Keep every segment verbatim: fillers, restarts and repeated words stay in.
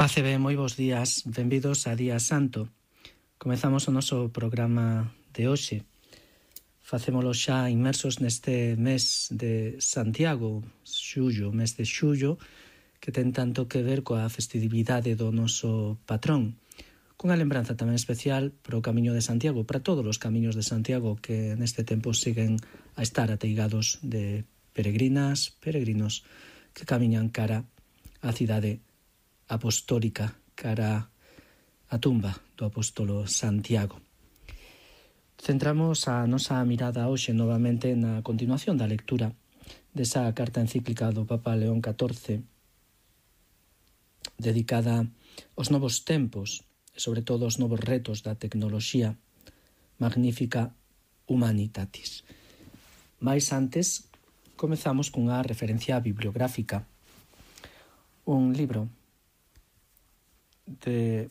Pace ben, moi bons días, benvidos a Día Santo. Comezamos o noso programa de hoxe. Facémolo xa inmersos neste mes de Santiago, xullo, mes de xullo, que ten tanto que ver coa festividade do noso patrón. Cunha lembranza tamén especial para o Camiño de Santiago, para todos os camiños de Santiago que neste tempo siguen a estar ateigados de peregrinas, peregrinos que camiñan cara á cidade apostólica, cara á tumba do apóstolo Santiago. Centramos a nosa mirada hoxe novamente na continuación da lectura desa carta encíclica do Papa León catorce, dedicada aos novos tempos e sobre todo aos novos retos da tecnoloxía, Magnificat Humanitatis. Mais antes, comezamos cunha referencia bibliográfica, un libro de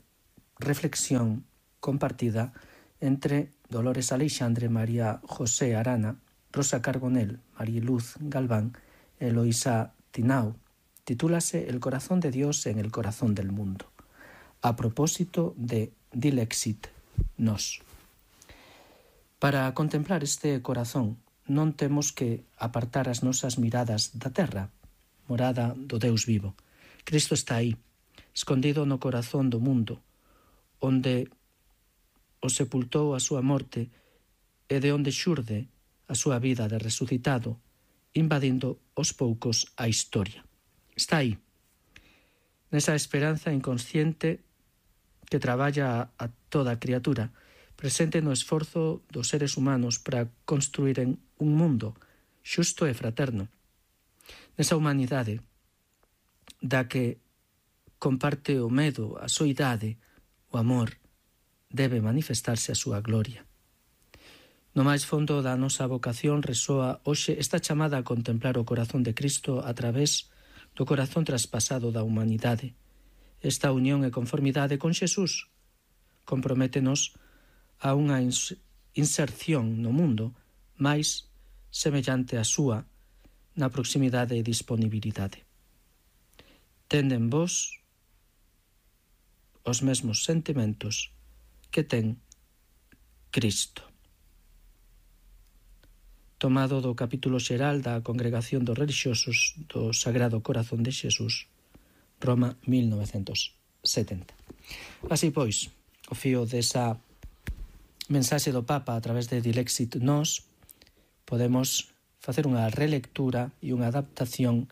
reflexión compartida entre Dolores Aleixandre, María José Arana, Rosa Carbonell, Mariluz Galván e Eloísa Tinau. Titúlase El corazón de Dios en el corazón del mundo, a propósito de Dilexit Nos. Para contemplar este corazón non temos que apartar as nosas miradas da terra, morada do Deus vivo. Cristo está aí, escondido no corazón do mundo, onde o sepultou a súa morte e de onde xurde a súa vida de resucitado, invadindo aos poucos a historia. Está aí, nesa esperanza inconsciente que traballa a toda a criatura, presente no esforzo dos seres humanos para construíren un mundo xusto e fraterno. Nesa humanidade da que comparte o medo, a soidade, o amor, debe manifestarse a súa gloria. No máis fondo da nosa vocación resoa hoxe esta chamada a contemplar o corazón de Cristo a través do corazón traspasado da humanidade. Esta unión e conformidade con Xesús comprométenos a unha inserción no mundo máis semellante á súa na proximidade e disponibilidade. Tenden vos os mesmos sentimentos que ten Cristo. Tomado do capítulo xeral da Congregación dos Relixiosos do Sagrado Corazón de Xesús, Roma, mil novecentos setenta. Así pois, o fío desa mensaxe do Papa a través de Dilexit Nos, podemos facer unha relectura e unha adaptación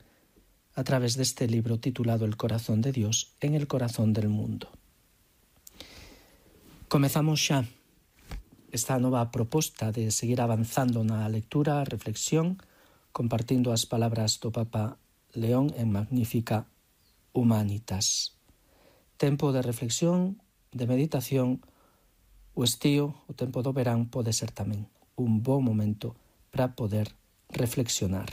a través deste libro titulado El corazón de Dios en el corazón del mundo. Comezamos xa esta nova proposta de seguir avanzando na lectura, reflexión, compartindo as palabras do Papa León en Magnificat Humanitas. Tempo de reflexión, de meditación, o estío, o tempo do verán, pode ser tamén un bo momento para poder reflexionar.